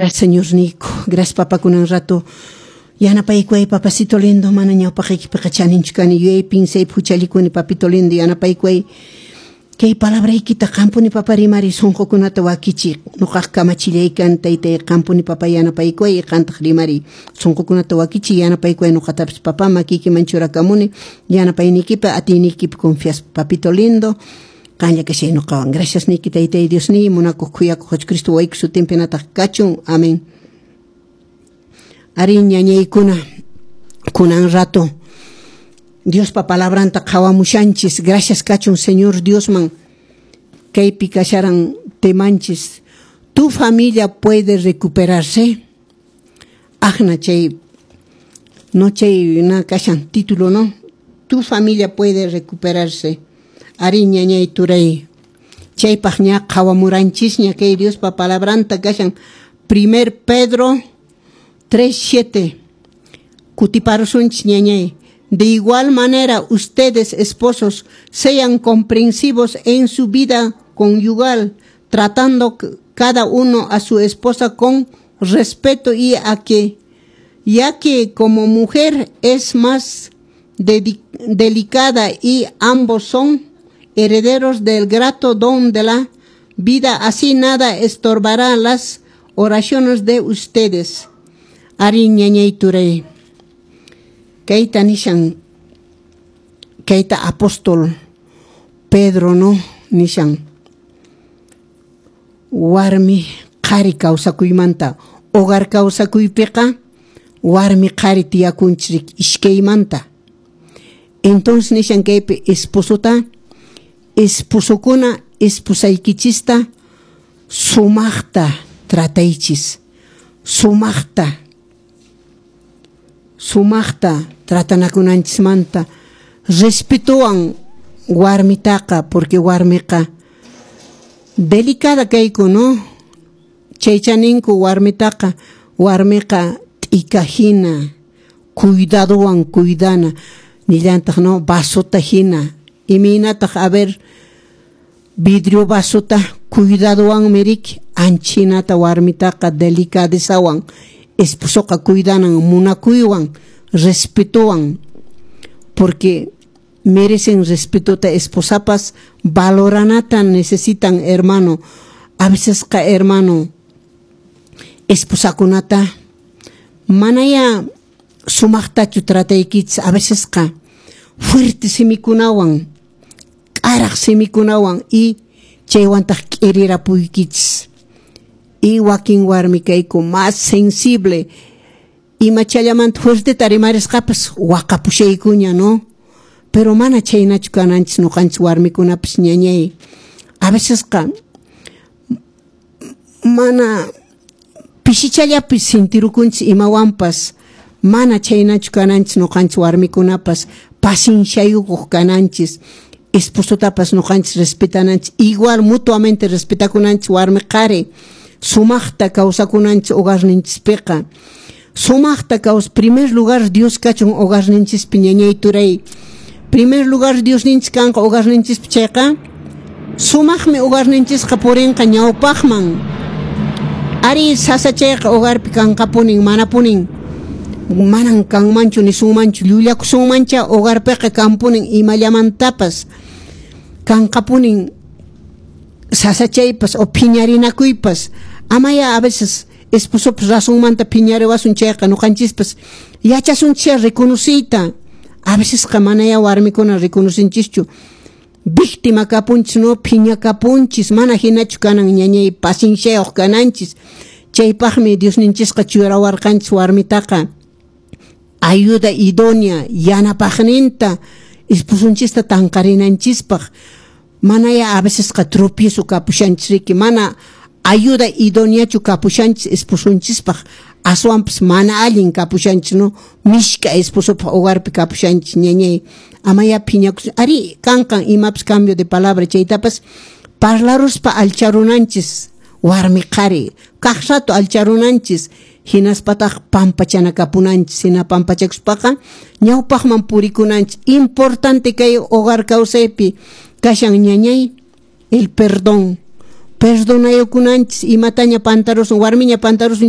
Gracias, Señor Nico. Gracias, papá, kunan rato. Yanapaykuway, papacito lindo, mana ñawpaqaykipiqa chaninchu kani, yuyay pinsaypi huchallikuni, papito lindo, yanapaykuway. Kay palabraykita qampuni, papa, rimari, sunqukunata wakichi, nuqaq kamachillaykan, taytay, qampuni, papa, yanapaykuway, qantaq rimari, sunqukunata wakichi, yanapaykuway nuqatapis, papa, makiykiman churakamuni, yanapayniykipi, atiyniykipi confiaspa, papito lindo, qanlla kashay nuqawan. Gracias niki, taytay Dios ni, munakuq khuyakuq Jesucristo wayku sutinpi nataq kachun. Amén. Ari, ñañaykuna, kunan rato Diospa palabranta qhawamushanchis. Gracias kachun Señor Diosman. Kaypi kasharan temanchis: "¿Tu familia puede recuperarse?" Ajna chay no chay na kashan título, ¿no? "Tu familia puede recuperarse". Ari, ñañay turay, chaypaq ña qhawamuranchisña kay Diospa palabranta, kashan Primer Pedro 3:7. Kutiparusunchis, ñañay. "De igual manera, ustedes, esposos, sean comprensivos en su vida conyugal, tratando cada uno a su esposa con respeto y a que, ya que como mujer es más delicada y ambos son herederos del grato don de la vida, así nada estorbará las oraciones de ustedes". Ari, ñañay turay. Kayta nishan, kayta apóstol Pedro, no, nishan warmi qhari kawsakuymanta, hogar kawsakuypiqa warmi qhari tiyakunchik iskaymanta. Entonces nishan kaypi esposota, esposokuna, esposaykichista sumaqta trataychis, sumaqta, sumaqta tratanakunanchismanta, respetowan warmitaqa, porque warmiqa delicada kayku, no? Chaycha ninku warmitaqa, warmiqa t'ika hina, cuidadowan cuidana, nillantaq, no, vasota hina, imaynataq, a ver, vidrio vasota cuidadowanmi riki, anchinata warmitaqa delicadezawan esposoqa cuidanan, munakuywan, respetowan, porque merecen respetota esposapas, valoranata necesitan, hermano. A veces qa, hermano, esposakunata manaya sumaqtachu trataykichis, a veces qa fuerte simikunawan, k'araq simikunawan, y chaywantaq k'irirapuykichis. Y wakin warmi kayku más sensible, imachallamanta fuerteta rimarisqapas waqapushaykuña, no? Pero mana chaynachu kananchis nuqanchis warmikunapas, ñañay. A veces qa mana pishichallapi sintirukunchis imawanpas, mana chaynachu kananchis nuqanchis warmikunapas, pacienciayukuq kananchis, esposotapas nuqanchis respetananchis, igual mutuamente respetakunanchis warmi qhari, sumaqta kawsakunanchis hogarninchispiqa. Sumaqta kaws, primer lugar Dios kachun hogarninchispi, ñañay turay. Primer lugar Diosninchis kanqa hogarninchispi chayqa, sumaqmi hogarninchisqa purinqa ñawpaqman. Ari, sasachayqa hogarpi kanqapunin, manapunin manan kanmanchu nisunmanchu, llullakusunmancha, hogarpiqa kanpunin imallamantapas, kanqapunin sasachaypas o phiñarinakuypas. Amaya a veces esposopas razonmanta phiñariwasun chayqa, nuqanchispas yachasunchis reconociyta. A veces qa manaya warmikuna reconocenchischu, víctima kapunchis, no, phiña kapunchis. Mana hinachu kanan, ñañay, pacienciayuq kananchis. Chaypaqmi Diosninchisqa churawarqanchis warmitaqa ayuda idónea, yanapaqninta, esposonchista tanqarinanchispaq. Manaya a veces qa tropiezo kapushanchis riki, mana ayuda idóneachu kapushanchis esposonchispaq, aswanpas mana allin kapushanchis, no, mishka esposopaq hogarpi kapushanchis, ñañay. Amaya phiñakus. Ari, kanqan imapas cambio de palabra, chaytapas parlaruspa alcharunanchis, warmi qhari kaq rato alcharunanchis, hinaspataq pampachanakapunanchis, hina pampachakuspaqa ñawpaqman purikunanchis. Importante kay hogar kawsaypi kashan, ñañay, el perdón. Perdonayukunanchis imataña pantarusun, warmiña pantarusun.